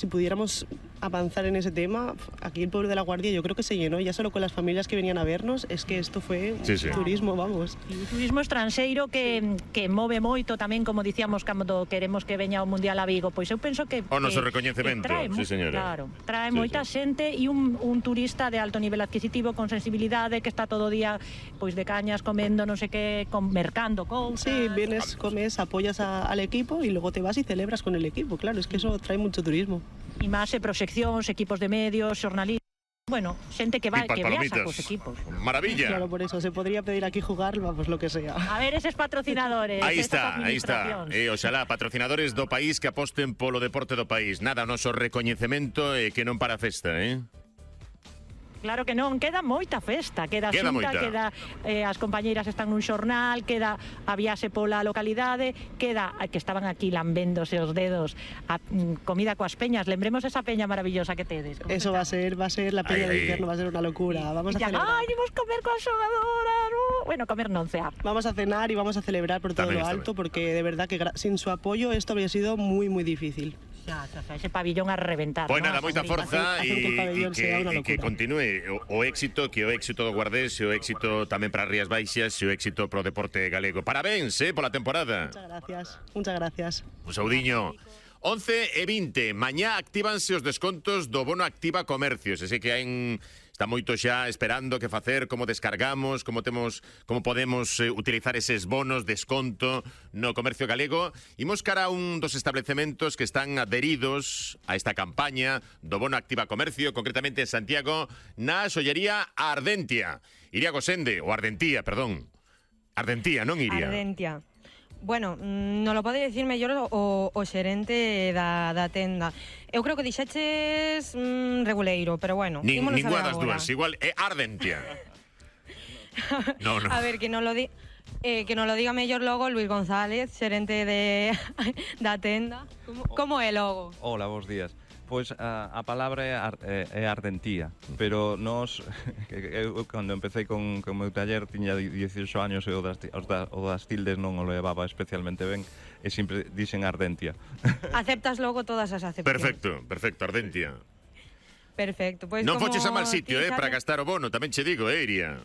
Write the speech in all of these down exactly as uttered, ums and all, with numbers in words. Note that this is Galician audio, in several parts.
Si pudiéramos avanzar en ese tema, aquí el pueblo de La Guardia yo creo que se llenó, ya solo con las familias que venían a vernos, es que esto foi sí, sí. turismo, vamos. E turismo estranxeiro que, que move moito tamén, como dicíamos, cando queremos que veña o Mundial a Vigo, pois eu penso que... O noso que, recoñecemento, que trae, sí señora. Claro, trae sí, moita sí. xente e un, un turista de alto nivel adquisitivo, con sensibilidade, que está todo o día pois de cañas, comendo, non sei que, con, mercando cousas... Sí, vienes, comes, apoyas a, al equipo y luego te vas y celebras con el equipo, claro, es que eso trae mucho turismo. E máis e proxeccións, equipos de medios, xornalistas, bueno, xente que va que viaxa cos equipos. Maravilla. Claro, por eso, se podría pedir aquí jugar, vamos, lo que sea. A ver, eses patrocinadores. Aí está, aí está. E, oxalá, patrocinadores do país que aposten polo deporte do país. Nada, o noso recoñecemento e que non para a festa, eh? Claro que non, queda moita festa, queda, queda xunta, moita. queda eh, as compañeiras están nun xornal, queda a viaxe pola localidade, queda que estaban aquí lambéndose os dedos a mm, comida coas peñas, lembremos esa peña maravillosa que tedes. Eso va a ser, va a ser la peña Ay, de ay. invierno, va a ser una locura, vamos a ya, celebrar. Ay, imos comer coas xogadoras, uh. bueno, comer non cear. Vamos a cenar y vamos a celebrar por todo También lo está alto, porque de verdad que sin su apoyo esto habría sido muy, muy difícil. Xa, xa, xa, ese pabillón a reventar. Pois ¿no? nada, moita forza Hacer- e hacer que el pabellón que, sea una e que locura. continúe o, o éxito, que o éxito do Guardés, e o éxito tamén para as Rías Baixas, e o éxito pro deporte galego. Parabéns, eh, pola temporada. Muchas gracias, muchas gracias. Un saudiño. once e vinte, mañá actívanse os descontos do bono Activa Comercios. Ese que hai en... Está moito xa esperando que facer, como descargamos, como temos, como podemos eh, utilizar eses bonos, desconto no comercio galego. Imos cara a un dos establecementos que están adheridos a esta campaña do bono Activa Comercio, concretamente en Santiago, na xollería Ardentia. Iria Gosende, ou Ardentía, perdón. Ardentía, non Iria. Ardentia. Bueno, non lo pode dicir mellor o, o xerente da, da tenda. Eu creo que dixeches mm, reguleiro, pero bueno, Nin, ímonos ninguna a ver das agora. dúas, igual é Ardentia. No, no. A ver, que non lo di eh, que non lo diga mellor logo Luis González, xerente de da tenda. Como, como é logo? Hola, bons días. Pois a, a palabra é, ar, é, é ardentía, pero nos, eu cando empecé con, con o meu taller tiña dieciocho años e o das, os da, o das tildes non o levaba especialmente ben e sempre dixen ardentia. Aceptas logo todas as acepcións. Perfecto, perfecto, Ardentia. Perfecto. Pois Non como foches a mal sitio, ti eh, para sabes- gastar o bono, tamén che digo, eh, Iria.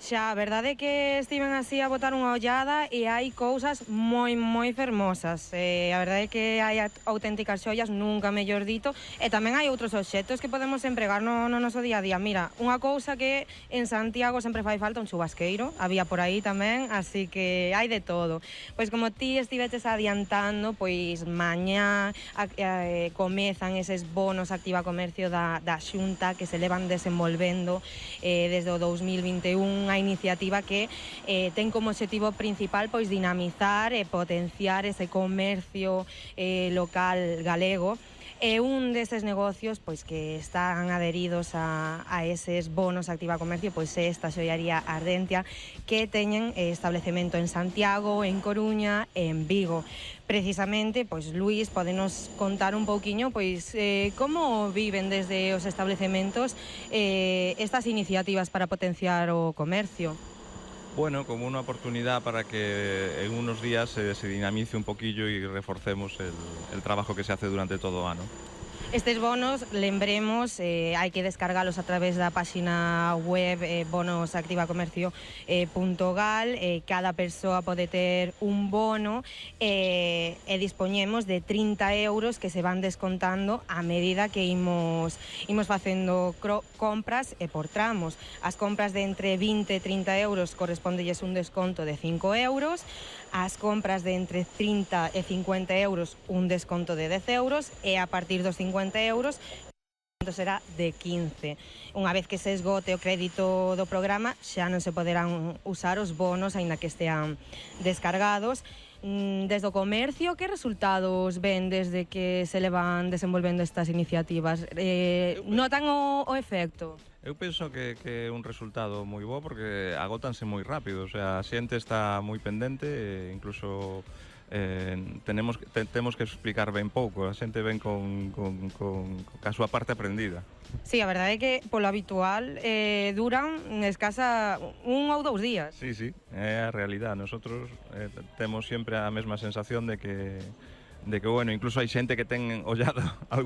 Xa, a verdade é que estiven así a botar unha ollada e hai cousas moi, moi fermosas. Eh, a verdade é que hai auténticas xollas, nunca mellor dito, e tamén hai outros obxectos que podemos empregar no, no noso día a día. Mira, unha cousa que en Santiago sempre fai falta, un chubasqueiro, había por aí tamén, así que hai de todo. Pois como ti estiveches adiantando, pois mañá a, a, comezan eses bonos Activa Comercio da, da Xunta que se levan desenvolvendo eh, desde o dous mil vinte e un, unha iniciativa que eh, ten como objetivo principal pois dinamizar e potenciar ese comercio eh, local galego. E un deses negocios pois que están adheridos a, a eses bonos Activa Comercio pois é esta xollaría Ardentia, que teñen establecemento en Santiago, en Coruña e en Vigo. Precisamente, pois Luís, podenos contar un pouquiño pois eh, como viven desde os establecementos eh, estas iniciativas para potenciar o comercio. Bueno, como una oportunidad para que en unos días se, se dinamice un poquillo y reforcemos el, el trabajo que se hace durante todo o ano. Estes bonos, lembremos, eh, hai que descargalos a través da páxina web eh, bonosactivacomercio punto gal. Eh, cada persoa pode ter un bono eh, e dispoñemos de trinta euros que se van descontando a medida que imos, imos facendo compras e por tramos. As compras de entre vinte e trinta euros correspondelles un desconto de cinco euros, as compras de entre trinta e cincuenta euros un desconto de dez euros e a partir dos cincuenta euros será de quince. Unha vez que se esgote o crédito do programa xa non se poderán usar os bonos aínda que estean descargados. Desde o comercio, que resultados ven desde que se levan desenvolvendo estas iniciativas? Eh, notan o, o efecto? Eu penso que, que é un resultado moi bo porque agótanse moi rápido, o sea, a xente está moi pendente e incluso eh, tenemos, te, temos que explicar ben pouco, a xente ven con, con, con, con a súa parte aprendida. Sí, a verdade é que polo habitual eh, duran escasa un ou dous días. Sí, sí, é a realidad. Nosotros eh, temos sempre a mesma sensación de que, de que bueno, incluso hai xente que ten ollado algún